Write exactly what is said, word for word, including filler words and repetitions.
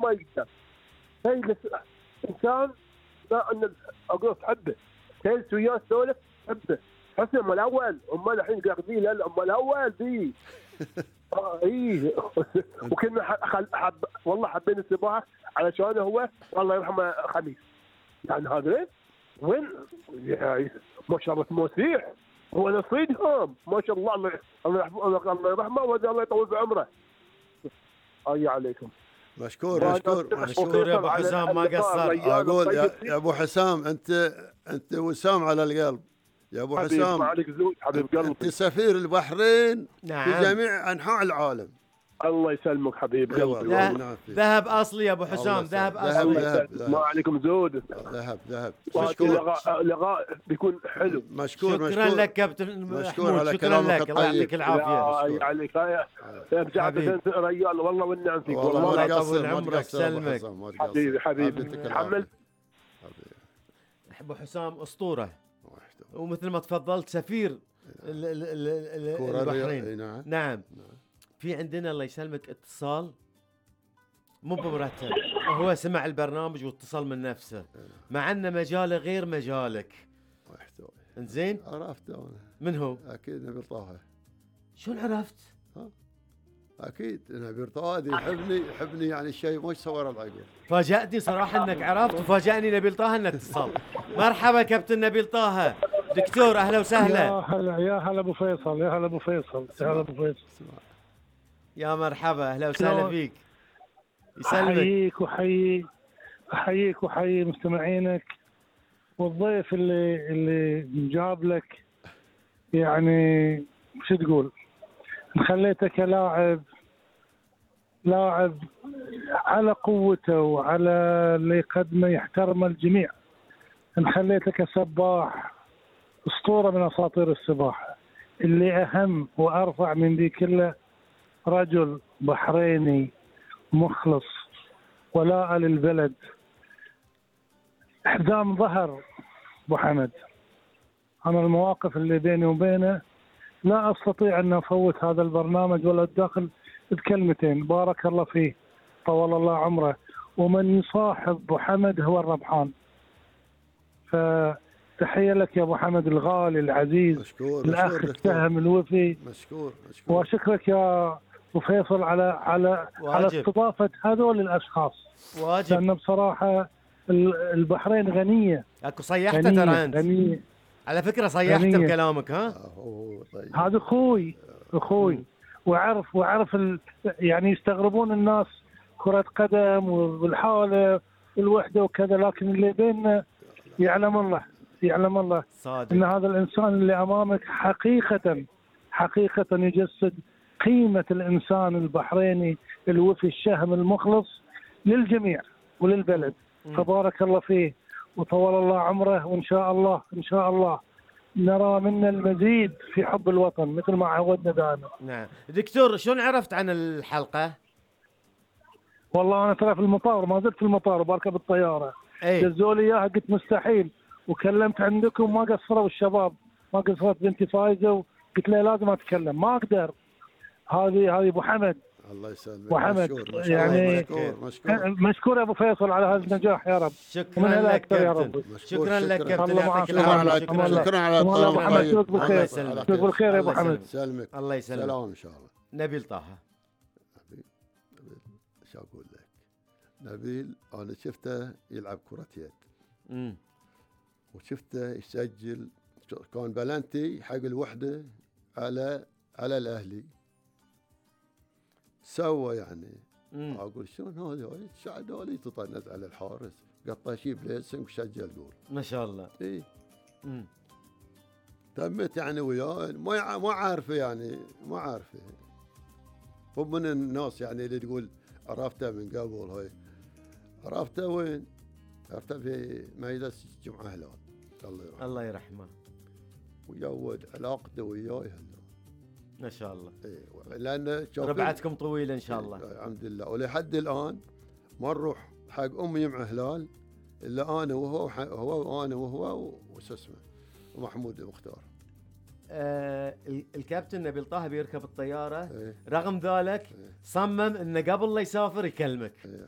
ما يقدر. هي انسان لا ان اقول تحبه، تجلس وياه تسولف تحبه، حسن ام الاول، هم الحين قاعدين لا ام الاول ذي. اه اي وكنا حب, حب والله حبينا السباحه علشان هو والله يرحمه خميس. يعني هذا وين يعني ما شاء الله موسيح هو نصيدهم ما شاء الله. الله الله الله يرحمه والله يطول في عمره. اي عليكم. مشكور مشكور مشكور يا ابو حسام ما قصر. اقول يا, يا ابو حسام انت انت وسام على القلب يا ابو حسام. عليك زود حبيب قلبي. انت سفير البحرين نعم. في جميع انحاء العالم. الله يسلمك حبيب قلبي. ذهب اصلي يا ابو حسام ذهب اصلي. ذهب ذهب. ما عليكم زود. ذهب ذهب. مشكور. لقاء بيكون حلو. مشكور شكرا مشكور لك كابتن مشكور على شكرا لك الله يعطيك العافيه. عليك يا بجعبة ريال والله والنعم فيك والله الله يطول عمرك سلمك حبيبي حبيبي. تحمل ابو حسام اسطوره ومثل ما تفضلت سفير البحرين. نعم. نعم في عندنا الله يسلمك اتصال مو بمرتب، هو سمع البرنامج واتصل من نفسه مع ان مجاله غير مجالك. انزين عرفته انا. من هو؟ اكيد نبيل طه. شلون عرفت؟ ها اكيد نبيل طه يحبني يحبني يعني الشيء مش صور العقل. فاجأتني صراحه انك عرفت وفاجأني نبيل طه انك اتصل. مرحبا كابتن نبيل طه. دكتور اهلا وسهلا. يا هلا يا هلا ابو فيصل يا هلا ابو فيصل يا هلا ابو فيصل. يا مرحبا اهلا وسهلا فيك. يسلمك. احييك وحيي احييك وحيي مستمعينك والضيف اللي اللي جاب لك. يعني شو تقول خليته كلاعب لاعب على قوته وعلى اللي يقدمه يحترم الجميع. خليته كسباح اسطوره من اساطير السباحه. اللي اهم وارفع من ذي كله رجل بحريني مخلص ولاء للبلد. حزام ظهر ابو حمد. انا المواقف اللي بيني وبينه لا استطيع ان افوت هذا البرنامج ولا اتداخل بكلمتين. بارك الله فيه طول الله عمره. ومن يصاحب ابو حمد هو الربحان. فتحيه لك يا ابو حمد الغالي العزيز. مشكور الاخ مشكور السهم الوفي. مشكور مشكور. واشكرك يا ابو فيصل على على واجب. على استضافه هذول الاشخاص. واجب. لان بصراحه البحرين غنيه. اكو صيحته ترى انت. غنيه على فكره صيحته بكلامك. ها طيب. هذا اخوي اخوي وعرف وعرف ال... يعني يستغربون الناس كره قدم والحاله والوحده وكذا، لكن اللي بيننا يعلم الله يعلم الله صادق. ان هذا الانسان اللي امامك حقيقه حقيقه يجسد قيمه الانسان البحريني الوفي الشهم المخلص للجميع وللبلد. م. فبارك الله فيه وطول الله عمره. وان شاء الله ان شاء الله نرى منا المزيد في حب الوطن مثل ما عودنا دائما. نعم دكتور شلون عرفت عن الحلقه؟ والله انا ترى في المطار ما زلت في المطار وبركب الطياره. دزوا لي اياها قلت مستحيل وكلمت عندكم ما قصروا الشباب ما قصرت بنتي فايزه وقلت له لازم اتكلم ما اقدر. هذه هذه ابو حمد. الله يسلمك. ابو حمد مشكور يعني مشكور مشكور مشكور يا ابو فيصل على هذا النجاح يا رب. شكرا لك كابتن. شكرا لك كابتن يعطيك العافيه. شكرا على الكلام الطيب. الله يسلمك. بالخير يا ابو حمد. سلمك. الله يسلمك. سلام ان شاء الله. نبيل طه. نبيل شو اقول لك؟ نبيل انا شفته يلعب كرة يد. امم وشفته يسجل كان بلنتي حق الوحده على على الاهلي. سوى يعني مم. اقول شلون هذا شعد هذا تطنز على الحارس قطه شيء بليسنج وسجل جول ما شاء الله. اي امم تمت يعني وياه ما ما عارفه يعني ما عارفه. هو من الناس يعني اللي تقول عرفته من قبل هاي. عرفته وين؟ عرفته في ميدان جمعة هلال الله يرحمه. الله يرحمه. ويود علاقته وياي ما شاء الله. اي لان ربعتكم طويله ان شاء الله. الحمد لله. ولحد الان ما نروح حق امي مع هلال الا انا وهو هو وانا وهو وش اسمه ومحمود مختار. آه الكابتن نبيل طه بيركب الطياره. إيه؟ رغم ذلك إيه؟ صمم انه قبل لا يسافر يكلمك. إيه؟